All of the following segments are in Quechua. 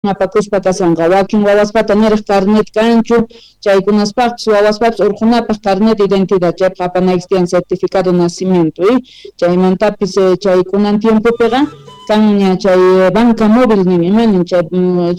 Apakuspa kashanqa wakin wawaspata niraq carnet kanchu chaykunaspaqpis wawaspapis urqunapaq carnet de identidad chaypaq apanayki tiyan certificado de nacimiento chaymantapis chaykunan tiempopiqa kanña chay banca móvil nin imanin chay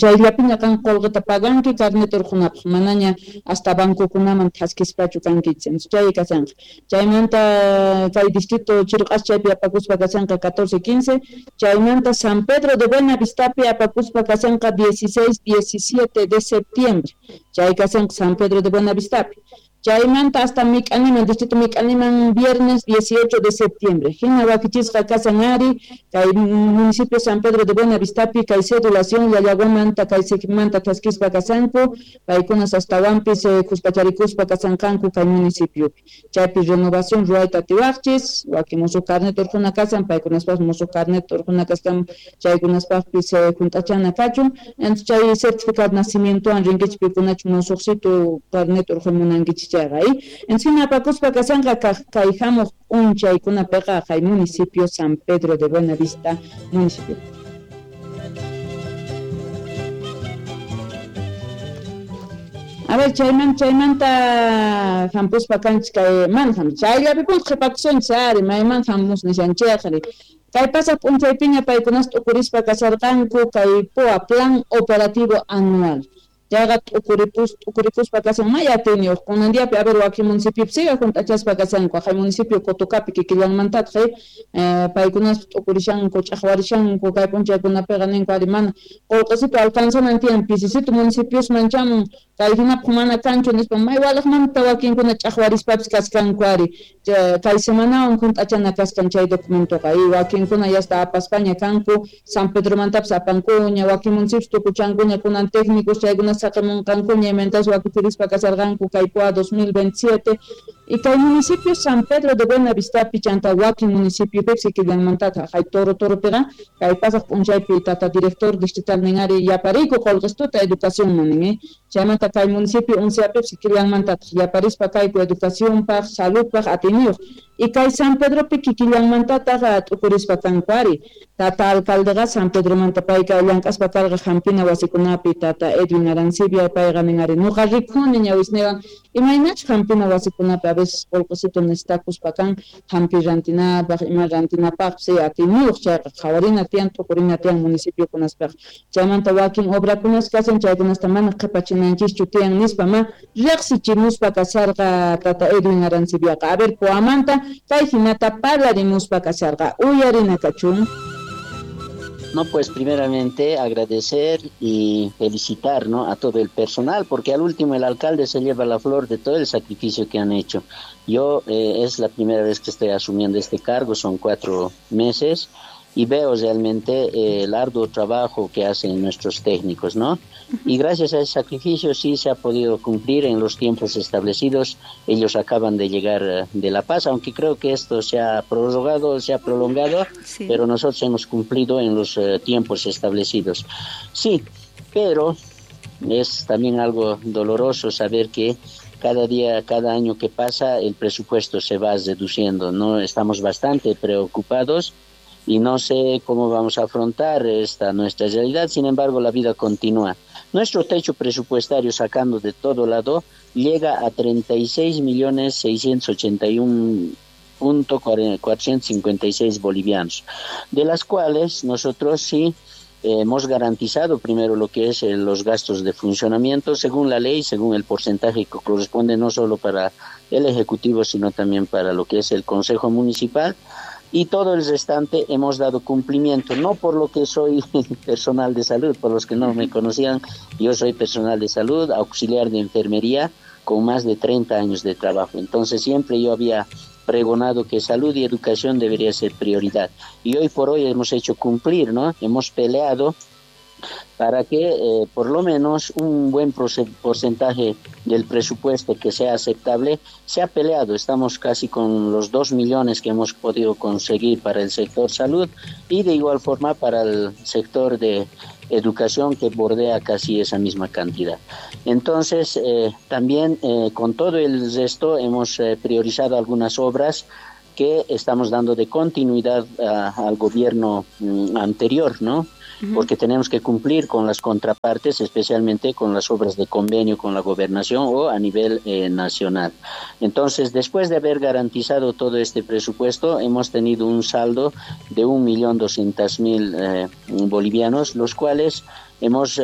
chayllapiña qan qullqita paganki carnet urqunapaq manaña hasta bancokunaman thaskispachu kankichis chay kashanqa chaymanta kay distrito Chirq'as chaypi apakuspa kashanqa 14, 15 chaymanta San Pedro de Buenavistapi apakuspa kashanqa 16, 17 de septiembre chay kashanqa San Pedro de Buenavistapi chaymanta hasta Mik'animan distrito Mik'animan viernes 18 de septiembre hina wakichisqa kashan ari kay municipio San Pedro de Buenavistapi kay cedulación Llallaguamanta kay Sikmanta thaskispa kashanku paykunas astawanpis khuspacharikuspa kashanqanku kay municipiopi chaypi renovación ruwayta atiwaqchis wakin musuq carnet urquna kashan paykunaspaq musuq carnet urquna kashan chaykunaspaqpis hunt'achana kachun entonces chay certificado de nacimientowan rinkichis pikunachu musuqsitu carnet urquy munankichis chayqa encima apakuspa kashanqa kay hamuq p'unchaykunapiqa kay municipio San Pedro de Buenavista municipio. A ver, chaymanta hampuspa kanchis kay mana chayllapi qhipakusunchis ari mayman hamus nishanchikri kay pasaq p'unchaypiña paykunas t'ukurispa kasharqanku kay POA Plan Operativo Anual chayqa t'ukurikuspa kashan may atiyniyuq kunan diapi a ver wakin municipiopi siga hunt'achaspa kashanku haqay municipio Cotocapi kikillanmantataq paykunas t'ukurishanku ch'aqwarishanku kay p'unchaykunapiqa ninku ari mana qullqisitu alcanzanan tiyan pisisitu municipiosman chamun kay hinapaq mana kanchu nispa may walaqmanta wakinkuna ch'aqwarispapis kaskanku ari kay semanawan hunt'achana kaskan chay documentoqa y wakinkuna yasta apaspaña kanku San Pedromantapis apankuña wakin municipios tukuchankuña kunan técnicos chaykuna saqimunqankuña imantas wakichirispa kasharqanku kay POA 2027 y kay municipio San Pedro de Buenavistapi chanta wakin municipiopipas kikillanmantataq hay Toro Toropiqa kay pasaq p'unchaypi tata director distrital nin ari yapariyku qullqistuta educacionman nin chaymanta kay municipio Unciapipis kikillanmantataq yaparispa kayku educacionpaq saludpaq atiyniyuq y kay San Pedropi kikillanmantataq t'ukurispa kanku ari tata alcaldeqa San Pedromanta payqa llank'aspa karqa hampina wasikunapi tata Edwin Arancibia payqa nin ari nuqa rikuni ñawisniwan imaynachu hampina wasikunapi a veces qullqisitu necesitakuspa kan hampi rantinapaq ima rantinapaqpis atiyniyuq chayqa qhawarina tiyan t'ukurina tiyan municipiokunaspaq chaymanta wakin obrakunas kashan chaykunasta mana qhipachinanchischu tiyan nispa ma riqsichimuspa kasharqa tata Edwin Arancibiaqa a ver POAmanta kay hinata parlarimuspa kasharqa uyarina kachun. No, pues primeramente agradecer y felicitar, ¿no?, a todo el personal, porque al último el alcalde se lleva la flor de todo el sacrificio que han hecho. Yo es la primera vez que estoy asumiendo este cargo, son 4 meses, y veo realmente el arduo trabajo que hacen nuestros técnicos, ¿no? Y gracias a ese sacrificio sí se ha podido cumplir en los tiempos establecidos. Ellos acaban de llegar de La Paz, aunque creo que esto se ha prorrogado, se ha prolongado, sí, pero nosotros hemos cumplido en los tiempos establecidos. Sí, pero es también algo doloroso saber que cada día, cada año que pasa, el presupuesto se va reduciendo, ¿no? Estamos bastante preocupados y no sé cómo vamos a afrontar esta nuestra realidad. Sin embargo, la vida continúa. Nuestro techo presupuestario, sacando de todo lado, llega a 36.681.456 bolivianos, de las cuales nosotros sí hemos garantizado primero lo que es los gastos de funcionamiento según la ley, según el porcentaje que corresponde no solo para el Ejecutivo, sino también para lo que es el Consejo Municipal. Y todo el restante hemos dado cumplimiento, no por lo que soy personal de salud, por los que no me conocían, yo soy personal de salud, auxiliar de enfermería, con más de 30 años de trabajo. Entonces siempre yo había pregonado que salud y educación debería ser prioridad. Y hoy por hoy hemos hecho cumplir, ¿no? Hemos peleado para que por lo menos un buen porcentaje del presupuesto que sea aceptable se ha peleado. Estamos casi con los 2 millones que hemos podido conseguir para el sector salud y de igual forma para el sector de educación, que bordea casi esa misma cantidad. Entonces, también con todo el resto hemos priorizado algunas obras que estamos dando de continuidad al gobierno anterior, ¿no? Porque tenemos que cumplir con las contrapartes, especialmente con las obras de convenio con la gobernación o a nivel nacional. Entonces, después de haber garantizado todo este presupuesto, hemos tenido un saldo de 1.200.000 bolivianos, los cuales hemos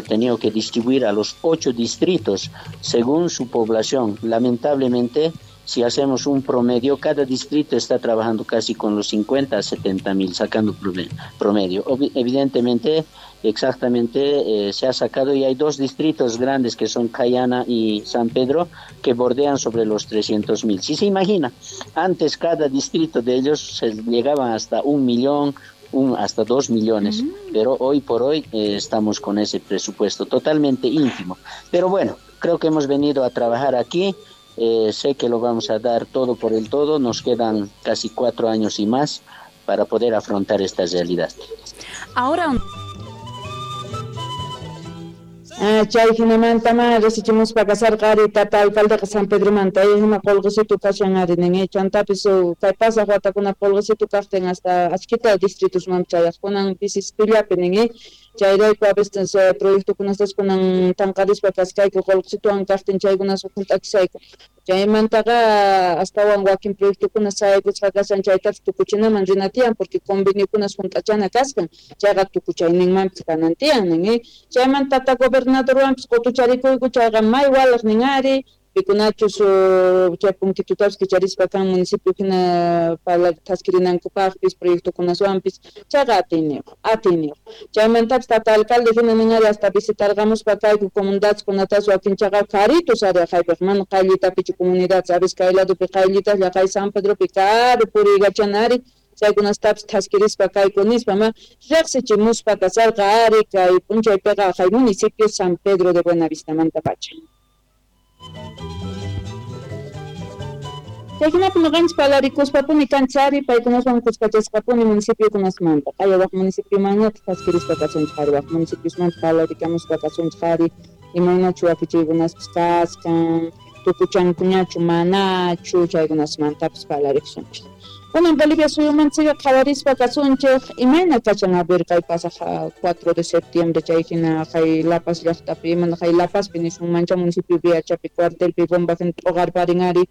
tenido que distribuir a los 8 distritos según su población. Lamentablemente, si hacemos un promedio, cada distrito está trabajando casi con los 50 a 70 mil, sacando promedio. Evidentemente, exactamente se ha sacado, y hay 2 distritos grandes que son Cayana y San Pedro, que bordean sobre los 300 mil. Si se imagina, antes cada distrito de ellos se llegaban hasta 1 millón, hasta 2 millones, pero hoy por hoy estamos con ese presupuesto totalmente ínfimo. Pero bueno, creo que hemos venido a trabajar aquí. Sé que lo vamos a dar todo por el todo, nos quedan casi 4 años y más para poder afrontar esta realidad. Ahora Chay hinamanta ma resichimuspa kasarqa ari tata alcaldeqa San Pedromanta hina qolqisitu kashan ari nin chantapis kay pasaq watakuna qolqisitu kaqtin hasta achkita distritusman chayaqkunan pisispillapi nin chayrayku a veces proyectokunastas kunan tanqarispa kaskayku qolqisituwan kaqtin chaykunas hunt'akisayku chaymantaqa astawan wakin proyectokuna sayaykusqa kashan chaytapas tukuchinaman rina tiyan porque conveniokunas hunt'achana kaskan chayqa tukuchayninmanpis kanan tiyan nin chaymanta tata gobernadorwanpis qutucharikuyku chayqa may walaq nin ari pikunachus chay punkitutapis kicharispa kan municipio hina thaskirinankupaqpis proyectokunaswanpis chayqa atiyniyuq chaymantapis tata alcalde hina nin ari hasta visitarqamuspa kayku comunidadkunatas wakinchaqa karitus ari aqaypiq mana qayllitapichu comunidad sabes kay ladopi qayllitas llaqay San Pedropi karu puriykachana ari chaykunastapis thaskirispa kayku nispa ma riqsichimuspa kasarqa ari kay p'unchaypiqa aqhay municipio San Pedro de Buenavistamanta pacha. Chayhinapi ñuqanchik parlarikuspapuni kanchari paykunaswan kuskachasqapuni municipiokunasmanta qaya waq municipiomanñataq thaskirispa kasunchik ari waq municipiosmanta parlarikamuspa kasunchik ari imaynachu wakichiykunaspis kaskan tukuchankuñachu manachu chaykunasmantapis parlarikusunchik. Kunan Bolivia suyumanchikqa qhawarispa kasunchik imayna kachan a ver kay pasaq 4 de septiembre chay hina kay La Paz llaqtapi imana kay La Pazpi nisunmancha municipio Viachapi cuartelpi bomba hina t'uqarparin ari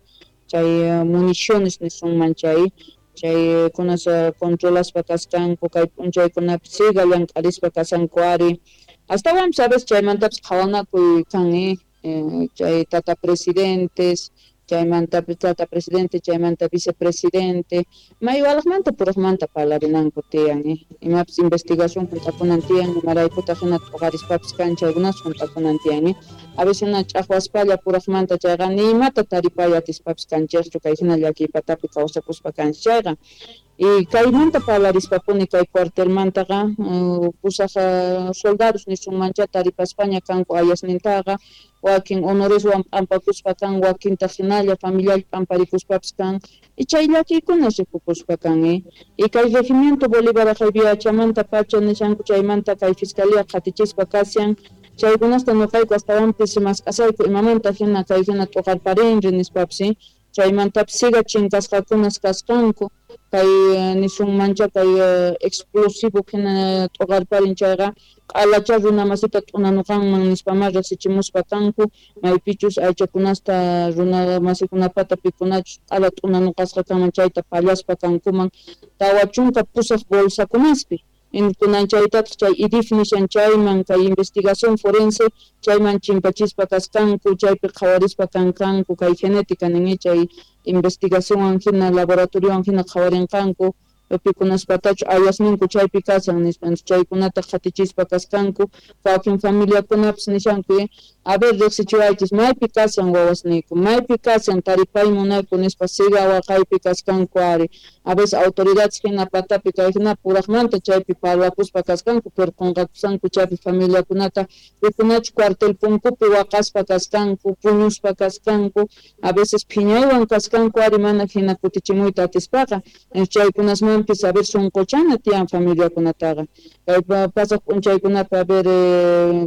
chay municiones nisunman chay chaykunas controlaspa kaskanku kay p'unchaykunapi siga llank'arispa kasanku ari astawanpis a veces chaymantapis qhawanakuy kan chay tata presidentes chaymanta tata presidente chaymanta vicepresidente maywalaqmanta puraqmanta parlarinanku tiyan imapis investigación hunt'akunan tiyan imaraykutaq hina t'uqarispapis kan chaykunas hunt'akunan tiyan a veces hina ch'aqwaspalla puraqmanta chayqa ni imata taripay atispapis kanchikchu kay hina llakiypatapi kawsakuspa kanchik chayqa y kaymanta parlarispapuni kay cuartelmantaqa pusaq soldados nisunmancha taripaspaña kanku ayasnintaqa wakin honoreswan p'ampakuspa kan wakintaq hinalla familiar p'amparikuspapis kan y chay llakiykuna rikukuspa kan y kay regimiento Bolívar aqhay Viachamanta pacha nishanku chaymanta kay fiscalía qhatichispa kashan chaykunasta ñuqayku astawanpis mask'asayku imamanta hina kay hina t'uqarparinri nispapis chaymantapis siga chinkasqakunas kasqanku kay nisunmancha kay explosivo hina t'uqarparin chayqa q'alacha runamasita t'unanuqanman nispama riqsichimuspa kanku maypichus aychakunasta runamasikunapata pikunachus q'ala t'unanuqasqa kanman chayta pallaspa kankuman 48 bolsakunaspi kunan chaytataq chay IDIF nishan chayman kay investigación forense chayman chimpachispa kaskanku chaypi qhawarispa kankanku kay genética nin chay investigacionwan hina laboratoriowan hina qhawarinqanku pikunaspatachu ayasninku chaypi kashan nispa chaykunata qhatichispa kaskanku wakin familiakunapis nishanku a ver riqsichiwaychis maypi kashan wawasniyku maypi kashan taripay munayku nispa siga waqaypi kaskanku ari a veces autoridades hina patapi kay hina puraqmanta chaypi parlakuspa kaskanku pero qunqakusanku chaypi familiakunata pikunachu cuartel punkupi waqaspa kaskanku puñuspa kaskanku a veces phiñaywan kaskanku ari mana hina kutichimuyta atispaqa chaykunasmanpis a ver sunquchana tiyan familiakunataqa kay pasaq p'unchaykunapi a ver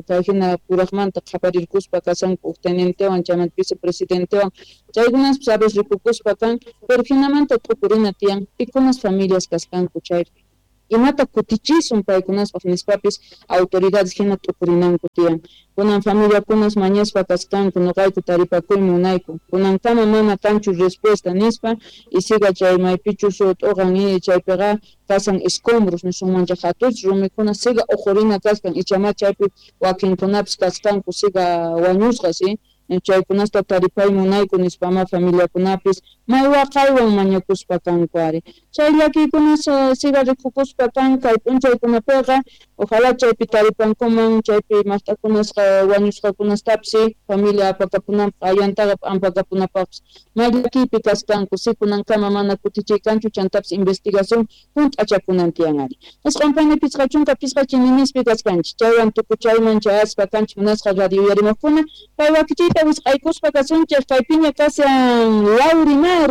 kay hina puraqmanta qhaparirkuspa kasanku huk tenientewan chaymanta vicepresidentewan chaykunaspis a veces rikukuspa kan pero hinamanta t'ukurina tiyan pikunas familias kaskanku chaypi. Imata kutichisun paykunaspaq nispapis autoridades hina t'ukurinanku tiyan. Kunan familiakunas mañaspa kaskanku nuqayku taripakuy munayku. Kunankama mana kanchu respuesta nispa y siga chay maypichus t'uqan chaypiqa kasan escombros nisunmancha hatuch rumikuna siga uqurina kaskan ichama chaypi wakinkunapis kaskanku siga wañusqa si chaykunasta taripay munayku nispama familiakunapis may waqaywan mañakuspa kanku ari. Chay llakiykunas siga rikukuspa kan kay p'unchaykunapiqa ojalá chaypi taripankuman chaypi maqt'akunasqa wañusqakunastapis familia apakapunanpaq ayantaqa p'ampakapunapaqpis may llakiypi kaskanku si kunankama mana kutichiy kanchu chantapis investigación hunt'achakunan tiyan ari. Isqun 55 chininispi kaskanchik chaywan tukuchayman chayaspa kanchik munasqa radio uyarimuqkuna kay wakichiyta wisq'aykuspa kasunchik kaypiña kashan Laurimar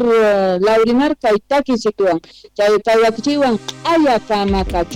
Laurimar kay takisituwan chay kay wakichiywan q'aya kama kachu.